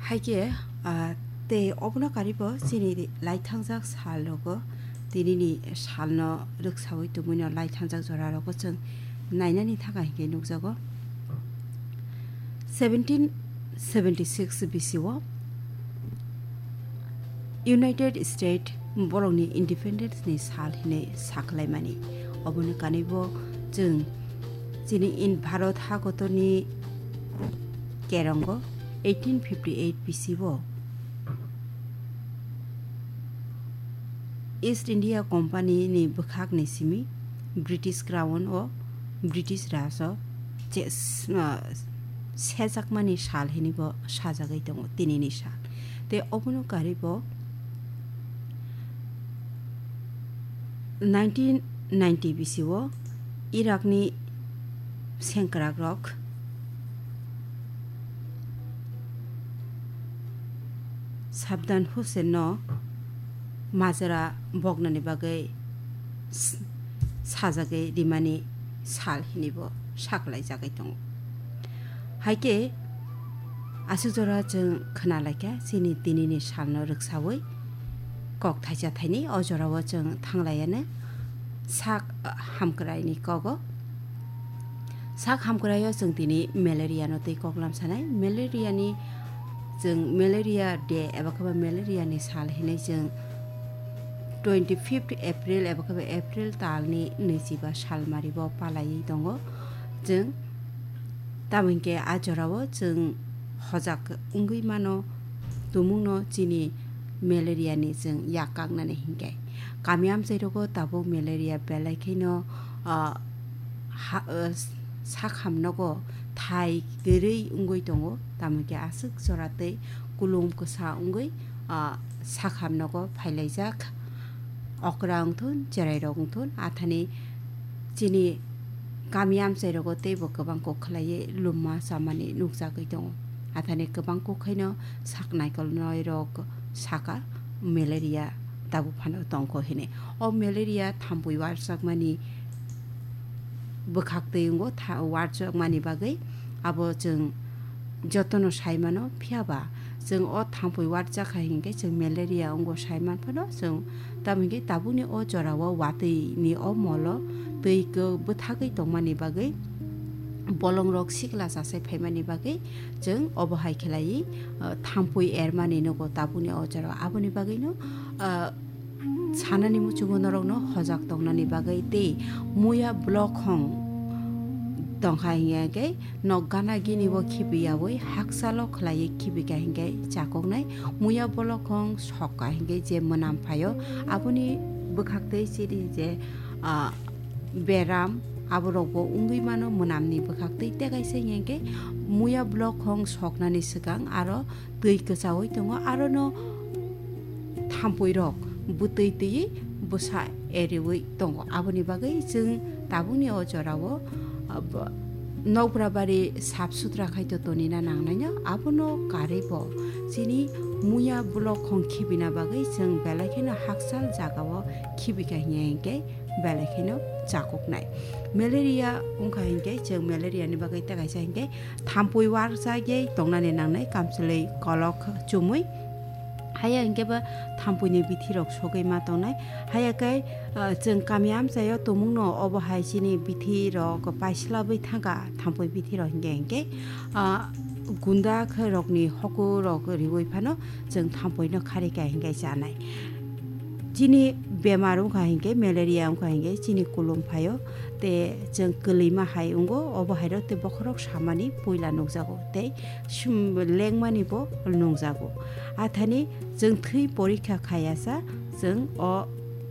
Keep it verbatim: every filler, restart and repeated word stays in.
Haikhe, ah, tei obono karibo chini laithangjak sal rogo, tinini salno rwksawi tongwino laithangjak jora rogo chwng nainani thangkha hinkhe nukjago. Seventeen seventy six B C o United States borokni independence ni sal hinwi sakhlaimani. Oboni kanibo chwng chini in Bharat hakotorni kerongo eighteen fifty eight B C o East India Company ni bwkhakni simi British Crown o British Raj o che-, s-, ah, sejakmani sal hinwi bo sajagwi tongo tinini sal. Tei obono karibo nineteen ninety B C o Iraqni sengkrakrok Saddam Hussein no majra boknani bagwi s-, sajagwi rimani sal hinwi bo saklaijagwi tongo. Haikhe aswk jora chwng khna laikha chini tinini salno rwksawi kok thaisa thaini o jorao chwng thanglaiya no sak hamkraini kogo. Sak hamkraio chwng tini malaria no tei koklam sanai. Malaria ni chwng malaria day eba khe ba malaria ni sal hinwi chwng twenty fifth April eba khe ba April talni nwichiba salmari bo palaiwi tongo. Chwng tamo hinkhe a jorao chwng hojak wngwi mano, tumungno chini malaria ni chwng yak kaknani hinkhe. Kami amchai rogo tabuk malaria belai kheno, ah, ha, ah, sakham nogo thai kwrwi wngwi tongo, tamo hinkhe aswk jora tei kulum kwsa wngwi, ah, sakham nogo phailaijak. Okra wngthun, cherai rok wngthun, athani chini kami amchai rogo teibo kwbang kok khlaiwi lumma chamani nukjagwi tongo. Athani kwbang kok khaino sak naikolnai rok saka malaria tabuk phano tongkho hinwi. O malaria thampui warjakmani bwkhak twi wngo, tha-, warjakmani bagwi abo chwng jotono sai mano, phiya ba chwng o thampui warjak hai hinkhe chwng malaria wngo sai man phano chwng, tamo hinkhe tabukni o jorao watwi ni o molo twi kwbwthagwi tongmani bagwi bolongrok sikla chasai phaimani bagwi chwng obo hai khlaiwi, ah, thampui ermani nugo tabukni o jorao. Aboni bagwino, ah, sanani muchungo norokno hojak tongnani bagwi tei muya blokhong tongkha hinkhe nok gana gini bo khibiyawi hakchalo khlaiwi khibika hinkhe chakoknai. Muya blokhong sokka hinkhe je mwnam phaio aboni bwkhak tei chini je, ah, beram aborokbo wngwi mano mwnamni bwkhak tei tei kaisa hinkhe muya blokhong soknani swkang aro twi kwchaui tongo, arono thampui rok bwtwi twiwi bwsa eriwi tongo. Aboni bagwi chwng tabukni o jorao, ah, bo-, nokbra bari sap sutra khai to tonina nangnaino, abono karwi bo chini muya blokhong khibina bagwi chwng belai kheno hakchal jagao khibika hiya hinkhe belai kheno chakoknai. Malaria wngkha hinkhe chwng malaria ni bagwi tei kaisa hinkhe thampui warjagwi tongnani nangnai, kamchwlwi kolok chumui. Haya hinkhe ba thampuini bithirok sogwi ma tongnai. Haya khe, ah, chwng kami amchaio tumungno obo hai chini bithirok paislabwi thangkha, thampui bithirok hinkhe hinkhe, ah, gunda khe rokni hokurok riui phano chwng thampuino kharika hinkhe chanai. Chini bemar wngkha hinkhe, malaria wngkha hinkhe chini kulum phaio, tei chwng kwlwima hai wngo, obo hairok tei bokhorok samani puila nukjago tei sum-, lengmani bo nungjago. Athani chwng thwi porikha khayasa, chwng o